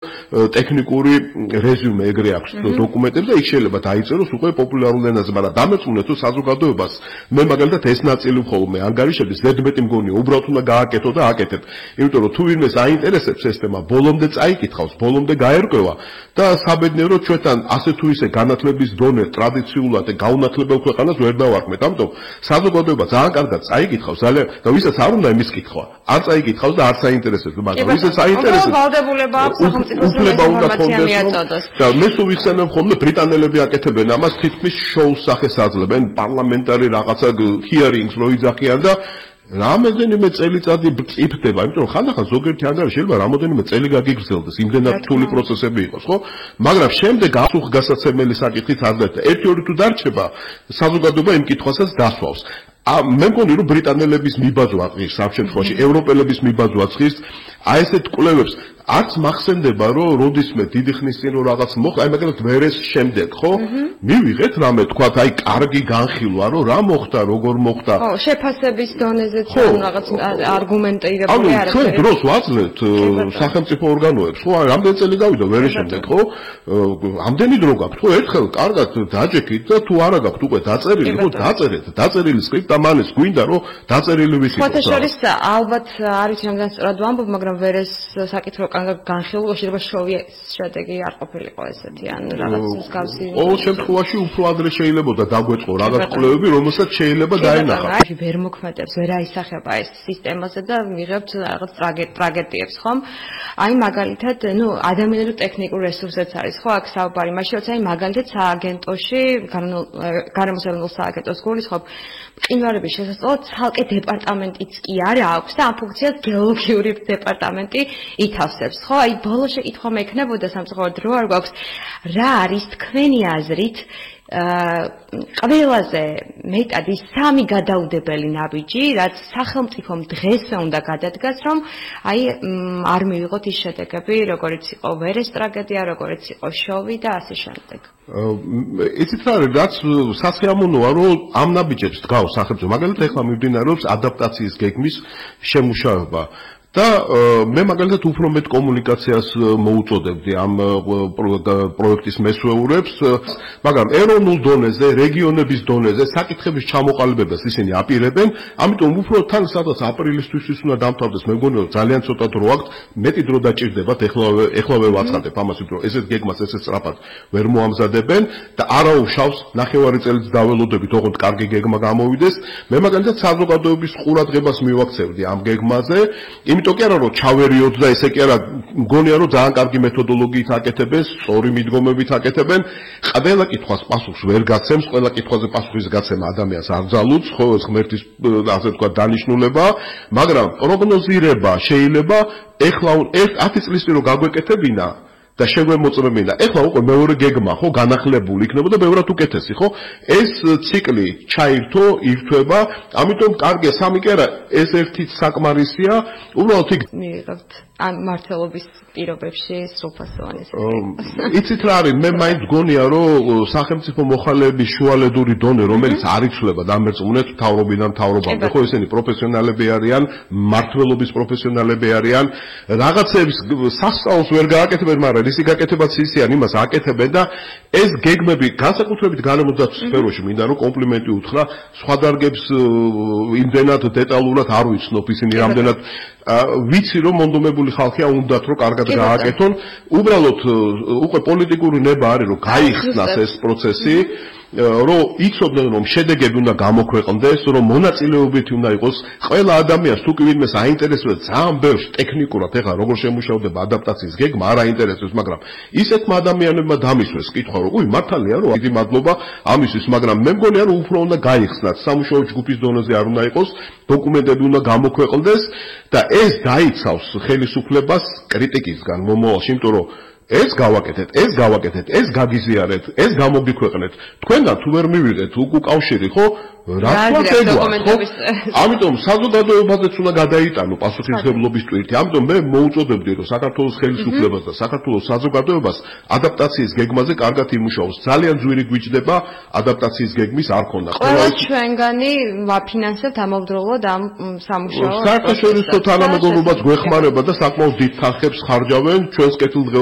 ტექნიკური რეზიუმე ეგრე აქვს დოკუმენტებს და იქ შეიძლება დაიწეროს უკვე პოპულარულ ენაზე, მაგრამ დამეწუნეთ თუ საზოგადოებას მე მაგალითად ეს ნაწილი ხოლმე ანგარიშების ზედმეტი მგონია უბრალოდ უნდა გააკეთო და აკეთებ. იმიტომ რომ თუ ვინმეს აინტერესებს ეს თემა, ბოლომდე წაიკითხავს, ბოლომდე გაერკვევა და საბედნიეროდ ჩვენთან ასე თუ ისე განათლების დონე ტრადიციულად გაუნათლებელ ქვეყანას ვერ დავარქმეთ. ამიტომ საზოგადოება ძალიან კარგად წაიკითხავს, ძალიან და ვისაც არ უნდა იმის კითხვა, არ წაიკითხავს და არ საინტერესებს, მაგრამ ვისაც აინტერესებს ვალდებულება აქვს სახელმწიფოს ინფორმაცია მიაწოდოს. და მე სულ ვიხსენებ ხოლმე ბრიტანელები აკეთებენ ამას თითქმის შოუს სახეს აძლევენ პარლამენტარი რაღაცა hearings რო იძახიან და რამოდენიმე წელიწადი იფდება, იმიტომ რომ ხანდახან ზოგიერთი ანგარიში შეიძლება რამოდენიმე წელი გაგიგრძელდეს, იმდენად რთული პროცესები იყოს, ხო? მაგრამ შემდეგ გასაცემელი საკითხით არ დაიწყება. ერთი-ორი თუ დარჩება, საზოგადოება იმ კითხვასაც დასვავს. მე მგონი რომ ბრიტანელების მიბაძვა ღირს ამ შემთხვევაში, ევროპელების მიბაძვა ღირს, აი ესეთ კვლევებს არც მახსენდება რომ როდისმე დიდი ხნის წინ რომ რაღაც მოხდა, აი მაგალითად ვერეს შემდეგ, ხო? მივიღეთ რამე თქვათ, აი კარგი განხილვა რომ რა მოხდა, როგორ მოხდა. ხო, შეფასების დონეზეც რაღაც არგუმენტირებული არის. ჩვენ დროს ვაძლევთ სახელმწიფო ორგანოებს, ხო? რამდენი წელი გავიდა ვერეს შემდეგ, ხო? ამდენი დრო გაქვთ, ხო? ერთხელ კარგად დაჯექით და თუ არა გაქვთ უკვე დაწერილი, ხო, დაწერეთ, დაწერილი სკრიპტ ამანეს გვინდა რომ დაწერილი ვიცით. ხოთა შორის ალბათ არის რამდენად სწორად ვამბობ, მაგრამ ვერეს საკითხი განხილვა შეიძლება შოვის შედეგი არ ყოფილიყო ესეთი ან რაღაც მსგავსი. ყოველ შემთხვევაში უფრო ადრე შეიძლებოდა დაგვეწყო რაღაც კვლევები, რომელსაც შეიძლება დაენახა. ვერ მოქმედებს, ვერ აისახება ეს სისტემაზე და მიღებთ რაღაც ტრაგედიებს, ხომ? აი მაგალითად, ადამიანური ტექნიკურ რესურსებს არის, ხო, აქ საუბარი, მაშინ როცა აი მაგალითად სააგენტოში, გარემოსავალ სააგენტოს გულისხმობ, მყინვარების შესასწავლად ცალკე დეპარტამენტიც კი არა აქვს და ამ ფუნქციას გეოლოგიური დეპარტამენტი ითავსებს, ხო? აი ბოლო შეკითხვა მექნებოდა სამწუხაროდ დრო არ გვაქვს, რა არის თქვენი აზრით ყველაზე მეტად ის სამი გადაუდებელი ნაბიჯი, რაც სახელმწიფომ დღესვე უნდა გადადგას, რომ აი არ მივიღოთ ის შედეგები, როგორიც იყო ვერეს ტრაგედია, როგორიც იყო შოვი და ასე შემდეგ. იცით რა არის, რაც სასიამოვნოა, რომ ამ ნაბიჯებს დგავს სახელმწიფო. მაგალითად ეხლა მიმდინარეობს ადაპტაციის გეგმის შემუშავება. და მე მაგალითად უფრო მეტ კომუნიკაციას მოუწოდებდი ამ პროექტის მესვეურებს, მაგრამ ეროვნულ დონეზე, რეგიონების დონეზე საკითხების ჩამოყალიბებას ისინი აპირებენ, ამიტომ უფრო თან სადაც აპრილისთვის უნდა დამთავრდეს, მე მგონი რომ ძალიან ცოტა დრო აქვს, მეტი დრო დაჭირდებათ, ეხლავე ვაცხადებ ამას, რომ ესეთ გეგმას ესე სწრაფად ვერ მოამზადებენ და არაუშავს ნახევარი წელიც დაველოდებით, ოღონდ კარგი გეგმა გამოვიდეს. მე მაგალითად საზოგადოების ყურადღებას მივაქცევდი ამ გეგმაზე. იმიტომ კი არა რომ ჩავერიოთ და ესე კი არა მგონია რომ ძალიან კარგი მეთოდოლოგიით აკეთებენ, სწორი მიდგომებით აკეთებენ. ყველა კითხვას პასუხს ვერ გაცემს, ყველა კითხვაზე პასუხის გაცემა ადამიანს არ ძალუძს, ხო, ეს ღმერთის ასე თქვა დანიშნულება, მაგრამ პროგნოზირება შეიძლება ეხლა 10 წლის წინ რომ გაგვეკეთებინა და შეგვემოწმებინა. ეხლა უკვე მეორე გეგმა, ხო, განახლებული იქნებოდა ბევრად უკეთესი, ხო? ეს ციკლი ჩაირთო, ირთვება, ამიტომ კარგია სამი კი არა, ეს ერთი საკმარისია, უბრალოდ იქ მივიღებთ ამ მართლობის პირობებში სრულფასოვანი. იცით რა არის, მე მაინც გონია, რომ სახელმწიფო მოხალეების შუალედური დონე, რომელიც არ იცვლება დამერწმუნეთ მთავრობიდან მთავრობამდე, ხო, ესენი პროფესიონალები არიან, მართლობის პროფესიონალები არიან, რაღაცების სასწაულს ვერ გააკეთებენ, მაგრამ ისი გაკეთებაც ისიან, იმას აკეთებენ და ეს გეგმები განსაკუთრებით გარემოსდაცვის სფეროში მინდა რომ კომპლიმენტი უთხრა, სხვა დარგებს იმდენად დეტალურად არ ვიცნობ ისინი რამდენად ვიცი რომ მონდომებული ხალხია უნდათ რომ კარგად გააკეთონ, უბრალოდ უკვე პოლიტიკური ნება არის რომ გაიხსნას ეს პროცესი, რომ იცოდნენ რომ შედეგები უნდა გამოქვეყნდეს, რომ მონაწილეობითი უნდა იყოს ყველა ადამიანს, თუ კი ვინმეს აინტერესებს ძალიან ბევრს ტექნიკურად ეხლა როგორ შემუშავდება ადაპტაციის გეგმა, არ აინტერესებს, მაგრამ ისეთმა ადამიანებმა დამისვეს კითხვა, რომ უი მართალია რომ დიდი მადლობა ამისთვის, მაგრამ მე მგონია რომ უფრო უნდა გაიხსნათ, სამუშაო ჯგუფის დონეზე არ უნდა იყოს, დოკუმენტები უნდა გამოქვეყნდეს და ეს დაიცავს ხელისუფლებას კრიტიკისგან მომავალში, იმიტომ რომ ეს გავაკეთეთ, ეს გაგიზიარეთ, ეს გამოგიქვეყნეთ. თქვენგან თუ ვერ მივიღეთ უკავშირი, ხო? რა თქვა? ამიტომ საზოგადოებაზეც უნდა გადაიტანო პასუხისმგებლობის ტვირთი. ამიტომ მე მოუწოდებდი, რომ საქართველოს ხელისუფლებას და საქართველოს საზოგადოებას ადაპტაციის გეგმაზე კარგად იმუშაოს. ძალიან ძვირი გვიჭდება ადაპტაციის გეგმის არქონა. ყველა ჩვენგანი ვაფინანსებთ ამავდროულად ამ სამუშაოს. საერთაშორისო თანამეგობრობაც გვეხმარება და საკმაოდ დიდ თანხებს ხარჯავენ ჩვენს კეთილდღეობას